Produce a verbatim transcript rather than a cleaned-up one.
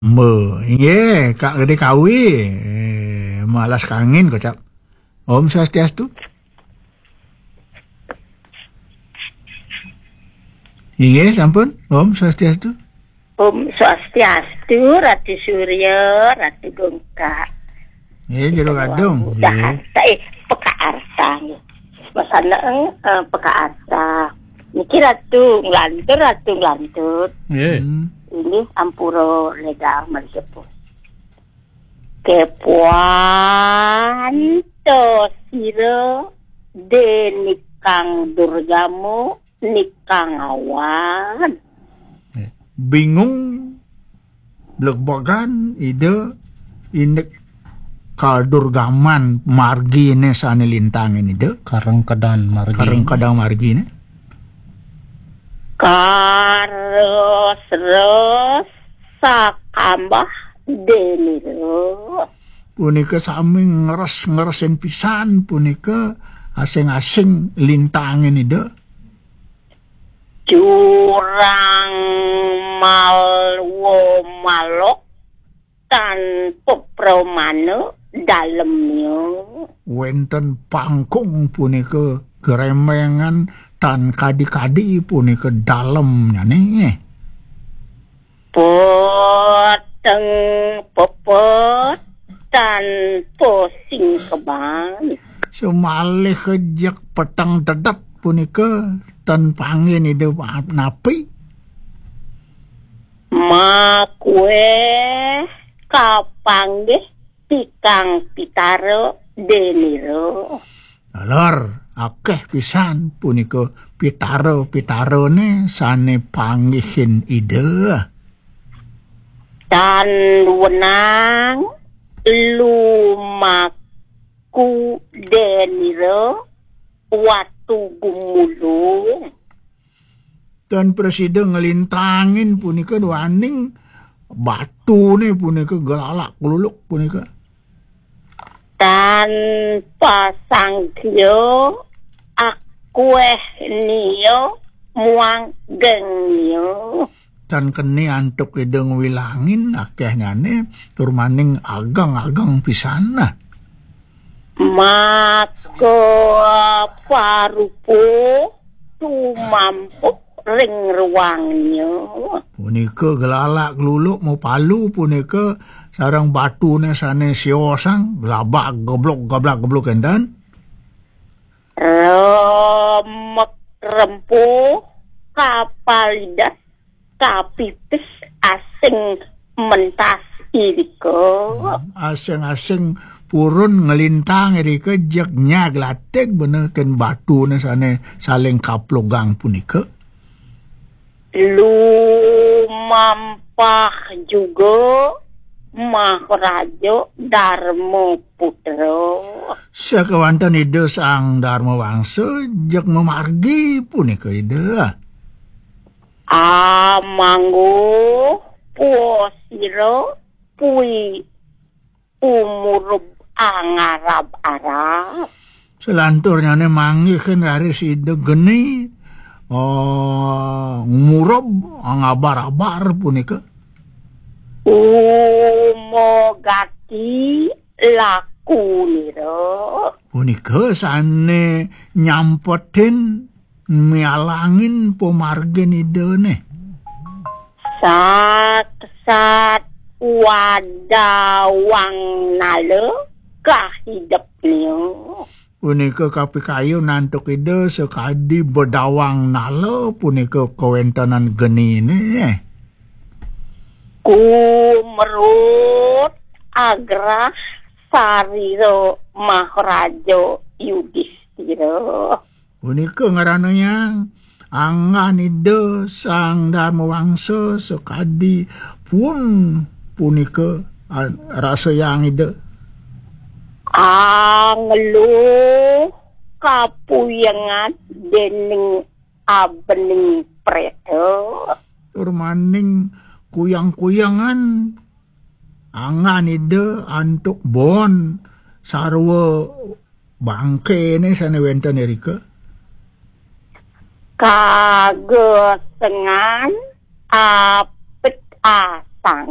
Mbe, inggih, Kak Gede Kawi. Eh, malas kangin, kocap. Om Swastiastu. Inggih, sampun. Om Swastiastu. Om Swastiastu, Ratu Surya, Ratu Gungkak. Nggih, jero gadung. Dah, nggih. Eh, Peka Arta, nggih. Mas Anang, eh, Peka Arta. Niki Ratu Nglantur, Ratu Nglantur. Nggih. Hmm. Ini ampura lega mari sepuh. Kepuan to sira dening Kang Durgamu nikang awan. Bingung, blegbegan, Ida, indik kadurgaman margine sane lintangin Ida. Karengkedan margine. Karengkedan margine. Kares-res sakambah denira. Punika sami ngres-ngresin pisan punika asing-asing lintangin Ida. Jurang malwa malok tanpa pramana dalemnya. Wenten pangkung punika geremengan tan kadi-kadi punika dalemnyane. Peteng pepet tanpa singkeban. Semalih kejek peteng dedet punika ten panggih Ida napi. Makueh kapanggih tikang pitara denira. Taler, akeh pisan punika pitara-pitarane sane panggihin Ida. Tan wenang lumaku denira watu gumulung. Tan prasida nglintangin punika duaning batune punika gelalak gluluk punika. Tan pasangkya akueh nia muang gengnya. Tan keni antuk Ida ngwilangin akehnyane tur maning ageng-ageng pisan nah. Maka parupa tumampuh ring ruangnya. Punika gelalak gluluk mapalu punika sareng batune sane siosang glabak geblok gablak geblok enten. Remek rempuh kapalidas kapipis asing mentas irika. Hmm, asing-asing purun nglintang irika jeg nyag latig bener ken batune sane saling kaplugang punika. Lumampah juga Maharaja Dharma Putra. Sakewanten Ida Sang Dharma Wangsa jeg mamargi punika Ida. Amangguh puasira pui umurub angarab-arab. Selanturnyane manggihin raris Ida geni, oh, ngumurub angabar-abar punika. Umogati lakunira. Punika sane nyampetin mialangin pamargin Idane. Saksat wadawang nala kahidepnya. Punika kapikayun antuk Ida sakadi bedawang nala punika kawentenan genine. Kumrut agrah sarira Maharaja Yudhistira. Punika ngaranayang anggan Ida Sang Dharma Wangsa sakadi pun punika, a-, rasayang Ida. Angluh kapuyengan dening abening preta. Tur maning kuyang-kuyangan anggan Ida antuk bon sarwa bangkene sane wenten irika. Kagesengan apik as 房。